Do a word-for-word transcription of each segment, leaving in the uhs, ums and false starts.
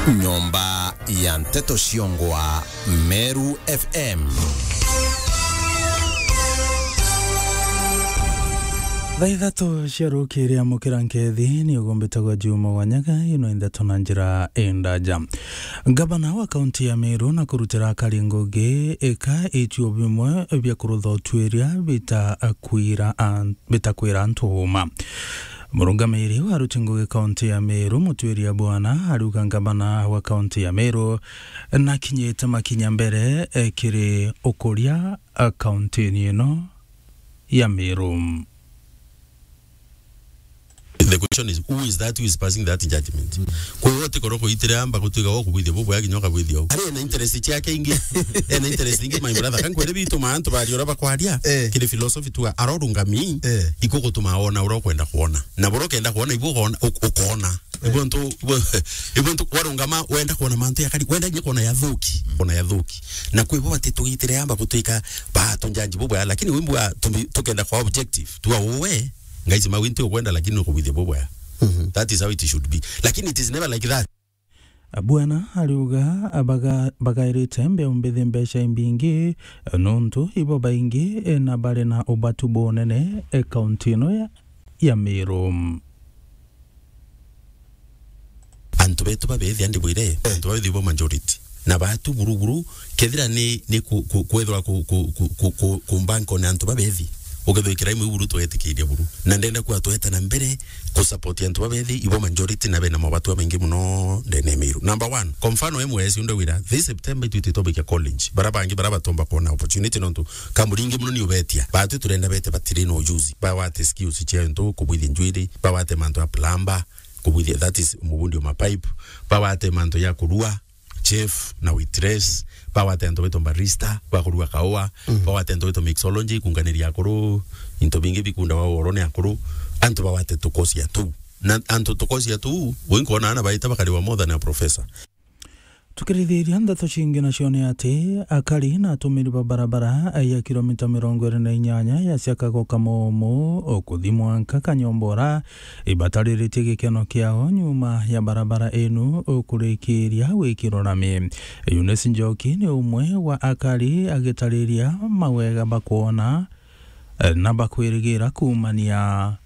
Nyomba ya nteto ciongwa Meru F M. Thaa ithatu cia rukiri, amukira nkethi, ni ugumbitagwa Juma Wanyaga, ino indeto na njira indaja. Ngavana wa kaunti ya Meru na kurutira akari ngugi ika ituo bimwe bia kurutha utuiria bitakwira an-, bitakwira antu uma. Murungamiri wa aruti ngugi kaunti ya Meru, Mutuiria Bwana, ariuga ngavana wa kaunti ya Meru nakinyite makinya mbere, eh, kiri ukuria, eh, kaunti-ini ino ya Meru. The question is, who is that who is passing that judgment? Kwi wote koroko itire amba gutwika wo kubwithia bubwea kinya ukabwithia u. Ari ena interest ciake ingi. Ena interest ingi, my brother. Kankwere bitu ma antu bari ura bakwaria. Eh. Kiri philosophy tu arorungami. Eh. Iko gutuma ona ura ukwenda kuona. Na bura ukenda kuona, ibu ukona, uk-, ukona. Ibu ntu, ibu, ibu ntu warungama, wenda kuona mantu ya kari, wenda nginya kuona ya thuki. Kuona ya thuki. Na kwi bo bati tugitire amba gutwika ba tunjanji bubwea, lakini wimbu wa tumbi-, tukenda kwa objective. Tua uwe, Ngai, sima winti ukwenda, lakini ukubithia bubwea. Mhm. That is how it should be. Lakini it is never like that. Bwana ariuga abaga-, bagairite mbeu mbithi mbeca imbingi, nontu ibo baingi na bari na ubatu bunene, e, kaunti ino ya, ya Meru. Antu betu babethi andi bwire, antu babethi bo majority. Na batu buru buru, kethira ni, ni ku, ku, kwethwa ku, ku, ku, ku, ku, kumbanka na antu babethi. Ukethwa ikira imwe buru twetikiria buru. Na ndenda kuwa tweta na mbere ku support antu babethi, ibo majority na bena mabatu maingi muno ndene ya Meru. Number one, kwa mfano M S unda wira, this September itu ititobikia college. Bara bangi bara batomba kuona opportunity nontu kamuri ingi muno ni ubetia. Batu turenda bete batiri na ujuzi. Bawate skills cia ntu kubwithia njwiri, bawate mantu ya plumber, kubwithia, that is, mubundi wa mapipe, bawate mantu ya kurua, chef na waitress, bawate antu baitwa barista, bakurua kaua, mm, bawate antu baitwa mixology, kunganiria akuru, into bingi bikunda wa uoro ni akuru, antu bawate tukosia tu. Na antu tukosia tu, winkwona ana baita bakari wa more than a professor. Tukirithiria ndeto cingi nacio ni ati, akari na atumiri ba barabara ya kilomita mirongo iri na inyanya ya Siakago Kamomo, o kuthi mwanka Kanyombora, ibatariritie gikeno kiao nyuma ya barabara inu kurikiria gwikirwa rami. Eunice Njoki ni umwe wa akari agitariria mawega bakwona, eh, na bakwirigira kuumania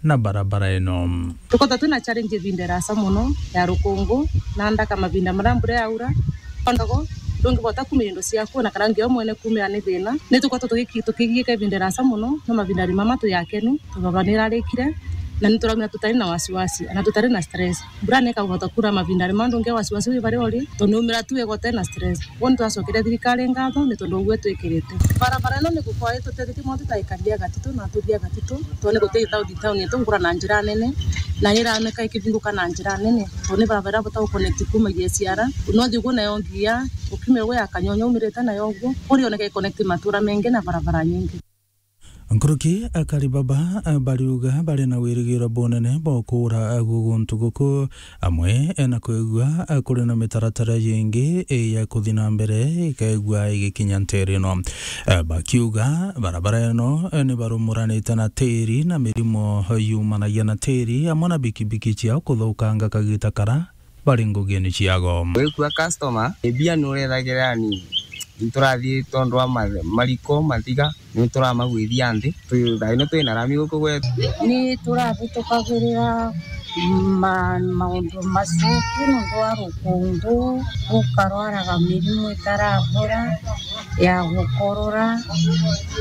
na barabara ino. Tukoretwe twina challenge ibinda irasa mono ya rukungu na ndaka, mavinda maria mbura yaura, ondogo ndungibota kumira indo ciaku, na kana nginya mwene kumira ni thina. Ni tukoretwe tugiki-, tukigiika ibinda irasa mono, no mavinda mama tuyakenu, tubaba ni irarikire, na ni turaumira tutari na wasiwasi, na tutari na stress. Mbura ni ikabota kura mavinda mama, ndungi wasiwasi wi baria uri, tondu ni umira tu wega utai na stress. Kwou ni twacokere thirikari ngatho ni tondu uguo itwikirite. Barabara ino ni gukorwa itutethitie mono tutaikarithia gatitu na atuthia gatitu, tondu ni guti town, town yetu ngura na njira nene, na ni ironeka ikibinguka na njira nene, tondu ni barabara iria bota guconnect kuuma G S R, no thigu nayo nginya ukiume uguo ya Kanyonyo umirite nayo uguo, kuri oneka iconnect matura mengi na barabara nyingi. Nkuruki akari baba, eh, bariuga bari na wirigiro bunene bwa ukura, eh, gu-, guntu guku, amwe, eh, na kwigua, eh, kuri na mitaratara yingi, eh, ya kuthi na mbere ikaigua igikinya ntere ino. Eh, bakiuga barabara ino, eh, ni barumuranite na tiri na mirimo, eh, yumanagia na tiri, amwe na bikibiki ciao kuthukanga kagita kara bari ngugini ciago. Wikua customer, mbia ni urethagira anini. Ni turathii tondu wa ma-, mariko, mathiga, ni turamagwithia nthi. Twi, thaa ino twi na rami guku gwetu. Ni turabitukagira ma-, maundu macuku nontu wa rukungu, gukarwaraga mirimu itarabura ya gukorora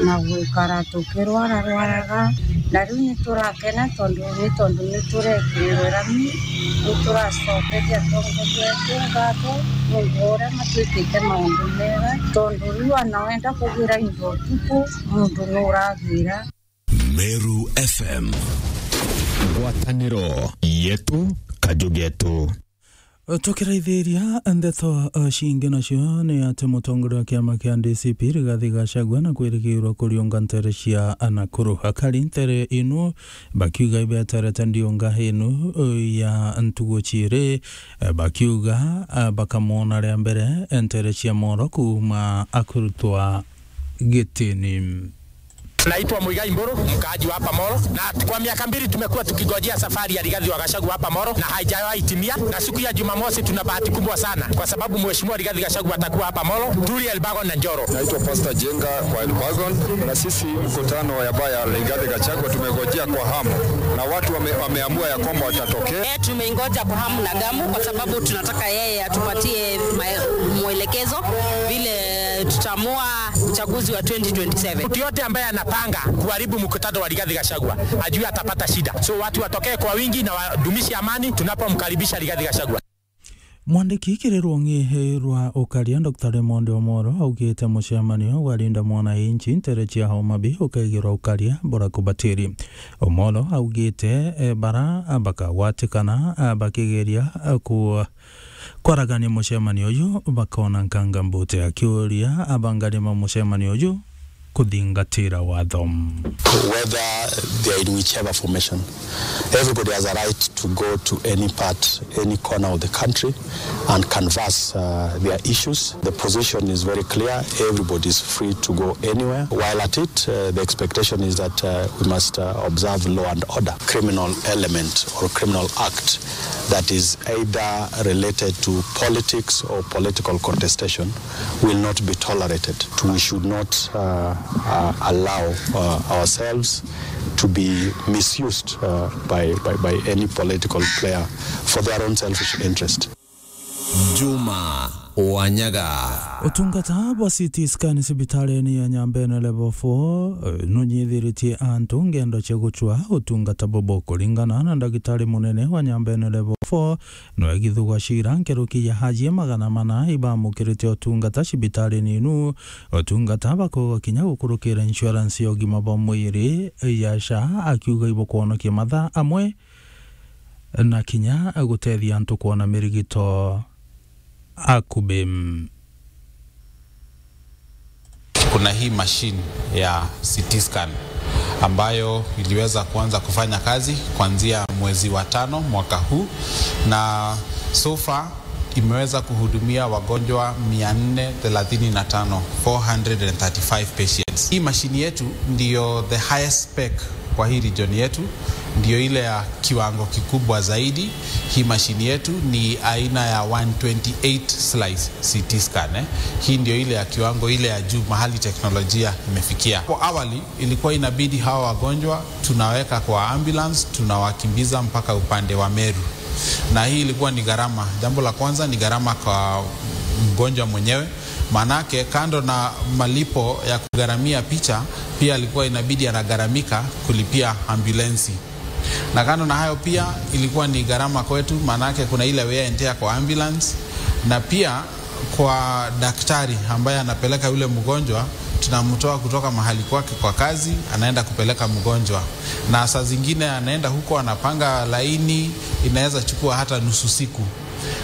na gwikara tukirwararwaraga, na riu ni turakena tondu, ni tondu ni turekirwe rami, ni turacokeria atongoria betu ngatho nuntu wa uria matwikite maundu mega, tondu riu ana wenda kugira into utuku, muntu ni uragira. Meru F M. Ngwataniro yetu, kaju getu. Tukiraithiria ndeto, uh, cingi nacio ni ati mutongoria wa kiama kia D C P Rigathi Gachagua na kwirigirwa kuriunga ntere cia Nakuru. Akari ntere inu bakiuga ibeterete ndiunga inu, uh, ya ntugu ciiri, uh, bakiuga, uh, bakamwona ria mbere ntere cia moro kuuma akurutwa gitini. Naitwa Muigai Mburu, mkaaji wa hapa Molo, na kwa miaka mbili tumekuwa tukigojea safari ya Rigathi wa Gachagua hapa Molo na haijawahi timia, na siku ya Jumamosi tuna bahati kubwa sana kwa sababu Mheshimiwa Rigathi Gachagua atakuwa hapa Molo, Turi, Elbagon na Njoro. Naitwa Pastor Jenga wa Elbagon, na sisi mkutano ya baya Rigathi Gachagua tumegojea kwa hamu, na watu wame-, wameamua ya kwamba watatokea. Eh, tumeingoja kwa hamu na gamu kwa sababu tunataka yeye atupatie mae-, mwelekezo vile tutaamua uchaguzi wa twenty twenty-seven. Mtu yote ambaye anapanga kuharibu mkutano wa Rigathi Gachagua ajue atapata shida. So watu watokee kwa wingi na wadumishe amani tunapomkaribisha Rigathi Gachagua. Mwandiki kiri rwong'i rwa ukaria, Doctor Raymond Omolo, augite mucemanio wa Linda Mwananchi ntere cia Homa Bay ukegirwa ukaria bura kubatiri. Omolo augite, eh, bara bakagwatikana, ah, bakigeria, ah, ku-, kwaragania mucemanio uju bakona nkanga mbute, akiuria abangani ba mucemanio uju kuthingatira watho. Whether they are in whichever formation, everybody has a right to go to any part, any corner of the country and canvass, uh, their issues. The position is very clear. Everybody is free to go anywhere. While at it, uh, the expectation is that, uh, we must, uh, observe law and order. Criminal element or criminal act that is either related to politics or political contestation will not be tolerated. We should not, uh, uh, allow, uh, ourselves to be misused, uh, by, by, by any political player for their own selfish interest. Juma Wanyaga. Utungata bwa C T scan cibitarini ya Nyambene Level four, eh, nunyithiritie antu ngendo cia gucwa utungata bubu. Kuringana na ndagitari munene wa Nyambene Level four, nwegithugwa cira nkuruki ya ajie magana mana ibamukirite utungata cibitarini inu. Utungata bakuuga kinya gukurukira insurance ya ugima bwa mwiri ya SHA, akiuga ibukwonokia mathaa amwe na kinya gutethia antu kwona mirigito akubi. Kuna hii machine ya C T scan ambayo iliweza kuanza kufanya kazi kuanzia mwezi wa tano mwaka huu, na so far imeweza kuhudumia wagonjwa mia nne thelathini na tano, four hundred and thirty-five patients. Hii mashini yetu ndiyo the highest spec kwa hii region yetu, ndiyo ile ya kiwango kikubwa zaidi. Hii mashini yetu ni aina ya one twenty-eight slice C T scan, eh. Hii ndio ile ya kiwango ile ya juu mahali teknolojia imefikia. Hapo awali ilikuwa inabidi hawa wagonjwa tunaweka kwa ambulance, tunawakimbiza mpaka upande wa Meru. Na hii ilikuwa ni gharama. Jambo la kwanza ni gharama kwa mgonjwa mwenyewe. Maanake kando na malipo ya kugharamia picha, pia alikuwa inabidi anagharamika kulipia ambulensi. Na kando na hayo pia ilikuwa ni gharama kwetu, maanake kuna ile wear and tear kwa ambulance, na pia kwa daktari ambaye anapeleka yule mgonjwa, tunamtoa kutoka mahali kwake kwa kazi, anaenda kupeleka mgonjwa. Na saa zingine anaenda huko, anapanga laini, inaweza chukua hata nusu siku.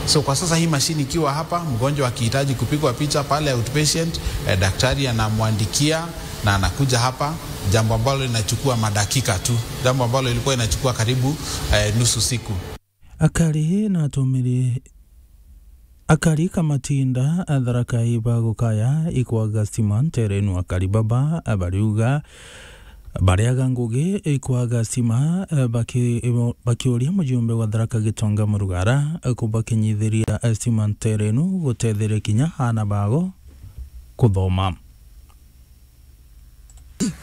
So kwa sasa hii mashini ikiwa hapa, mgonjwa akihitaji kupigwa picha pale outpatient, eh, daktari anamwandikia na anakuja hapa, jambo ambalo linachukua madakika tu, jambo ambalo ilikuwa inachukua karibu, eh, nusu siku. Akari na atumiri, akari Kamatinda, Tharaka Nithi bagukaya ikwaga stima ntere inu. Akari baba bariuga bariaga ngugi ikwaga stima, eh, baki-, bakiuria mujumbe wa Tharaka Gitonga Murugara, eh, kubakinyithiria, eh, stima ntere inu gutetheria kinya aana bao kuthoma.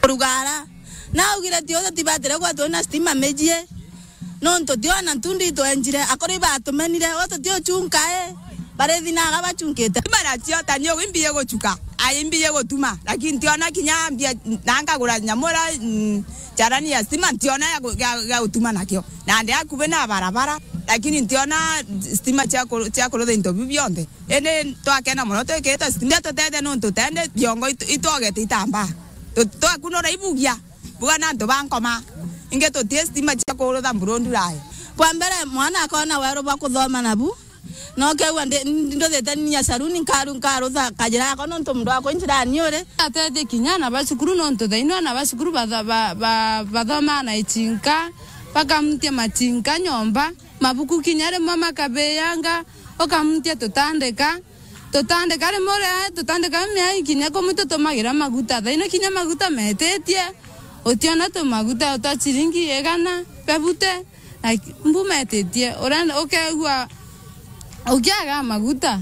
Murugara naugire tio tutibatire gwa twina stima mijie. Nontu tiona ntundi itwenjire, akuru ibatumenire, o tuti uchunka i, barithinaga bachunkite. Stima nacio ta nio imbi iguchuka, ai imbi igutuma, lakini ntiona kinya mbia, na nkagura nyamura, mm, charani ya stima, ntiona ya gu-, ya, ya gutuma nakio. Nandi akubi na barabara, lakini ntiona stima cia ku-, cia kurutha into biu bionthe. Indi twakena mono twikite stima, tutethia nontu tende biongo itu-, itwogete itambaa. Tu-, twakunura ibugia. Buga na antu ba nkoma. Ingi tutie stima cia kurutha mburundu rai. Kwa mbere, mwana akona weru bwa kuthoma nabu. No keigua ndi-, nduthite ninya saruni nkaru-, nkarutha kajira yakwa nontu mundu wakwa injirani uri. Atethie kinya ana ba cukuru nontu thaino ana ba cukuru batho-, ba-, ba-, bathomaa na ichinka, bakamutia machinka nyomba, mabuku kinya rimwe makabiyanga, ukamutia tutandika. Tutandika rimwe ria, tutandika miai kinya kumwe tutumagira maguta. Thaino kinya maguta metitie, Utiona tumaguta twa ciringi igana, fifty, like, mbu metitie, urenda, ukeigua ukiaga maguta,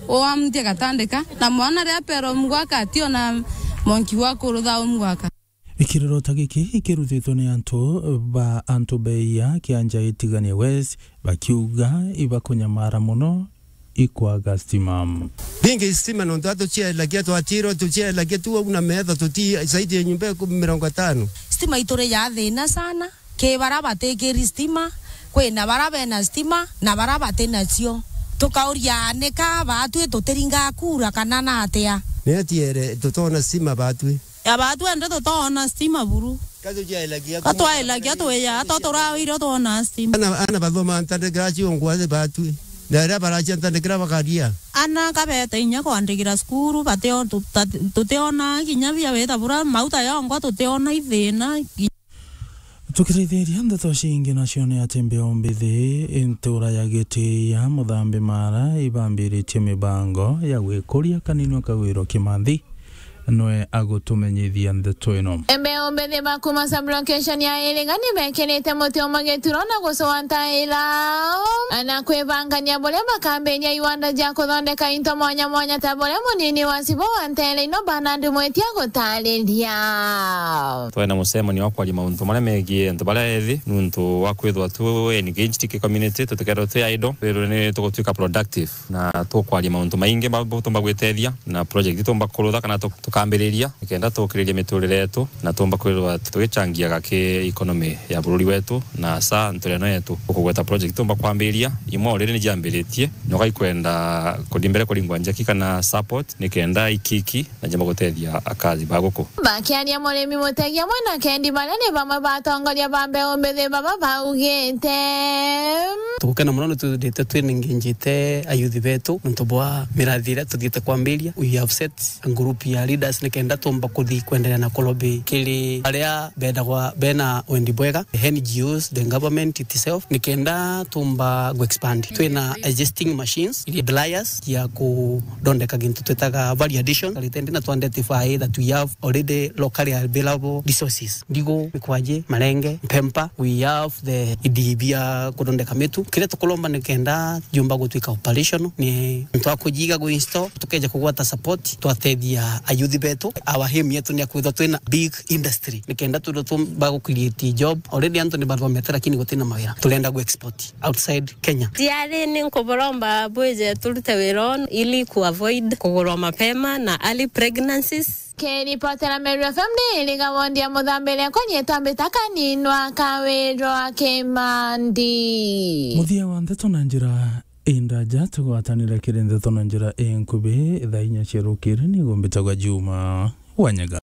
uamtie gatandika, na mwana ria pero mgwaka ationa monki wa kurutha umgwaka. Ikiriro ta giki ikirutitwe ni antu ba antu beia kianja itigania West, bakiuga ibakunyamara mono ikwaga stima. Bingi stima nontu atucielagia twatirwo tucielagia tu au na metho tuti zaidi ya nyumba ikumi mirongo itano. Stima ituri ya thina sana, ki bara batikiri stima, kwina bara bena stima na bara batinacio. Tukauria, nika baatwi tutiringa kura kana na atia? Ni atiere tutona stima baatwi. Ya baatwi ende tutoona stima buru. Ka tucielagia tu. Ka twaelagia twiya, to turawire twona stima. Ana, ana bathoma ntandikira ciongwa baatwi. Na riria baracia ntandikira bakaria. Ana kabete inya kwandikira cukuru, batio-, tuta-, tutiona kinya bia wita bura, mauta yongwa tutiona ithina. Tukiraithiria ndeto cingi nacio ni ati mbeu mbithi ntura ya Gitiia Muthambi Mara ibambiritie mibango ya gwikuria kaninua Kagwiro Kimanthi nwe agutumenyithia ndeto ino. Mbeu mbithi ba kuma sub-location ya Iriga ni bekirite muti umwe gituro na gucua ntaira na kwibangania buria bakambiria iwanda ja kuthondeka into mwanya mwanya ta buria munini wa Cibo wa Ntere ino Bernard Mwitia gutariria. Twena mucemanio wa kwaria mauntu maria megie antu baria ethi, nuntu wa kwithwa tu engaged ki community, tutikethirwa twi idle, twithirwe ni tugutwika productive. Na tukwaria mauntu maingi ma-, butumba gwitethia, na project itumba kurutha kana tu-, tukambiriria, nikenda tukiriria miturire yetu, na tumba kwithirwa tugichangiaga ki economy ya bururi wetu, na sa ntureno yetu. Ukugweta project itumba kwambiriria, imwe already ni jiambiritie, na ukaikwenda kuthi mbere kuringwa njaki kana support, nikenda ikiki na njamba gutethia akazi ba guku. Bakiaria murimi Mutegi amwe na Kendi baria ni bamwe ba atongoria ba mbeu mbithi baba baugite. Tugukena mono ni twithirite twinengenjite ayuthi betu nontu bwa mirathi iria tuthiite kwambiria. We have set a group ya leaders nikenda tumba kuthi kwenderea na kulobi kiri aria bendagwa bena wendi bwega, the N G Os, the government itself, nikenda tumba gu expand. Twina existing machines, iria dryers, ya kuthondeka gintu twitaga value addition, na twa identify that we have already locally available resources. Ndigu, mikwaji, marenge, mpempa, we have the idi bia kuthondeka mitu. Kiria tukuromba nikenda jumba gutwika operational, ni antu a kujiga gu install, tukeja kugwata support, twatethia ayuthi betu. Our aim yetu ni ya kwithwa twina big industry, nikenda twithwa tumba gu create job. Already antu ni bathomete, lakini gutina mawira. Turenda gu export outside Kenya. Tiari ni nkuburomba bwije turute wira unu ili ku avoid kugurwa mapema na early pregnancies. Kiripotera Meru F M ni Iriga wondi ya Muthambire, kwa nyitwa mbita Kaninwa Kawirwa Kimandi. Muthia wa ndeto na njira indaja, tugwatanire kiri ndeto na njira inkubi, thaa inya cia rukiri, nigo mbitagwa Juma Wanyaga.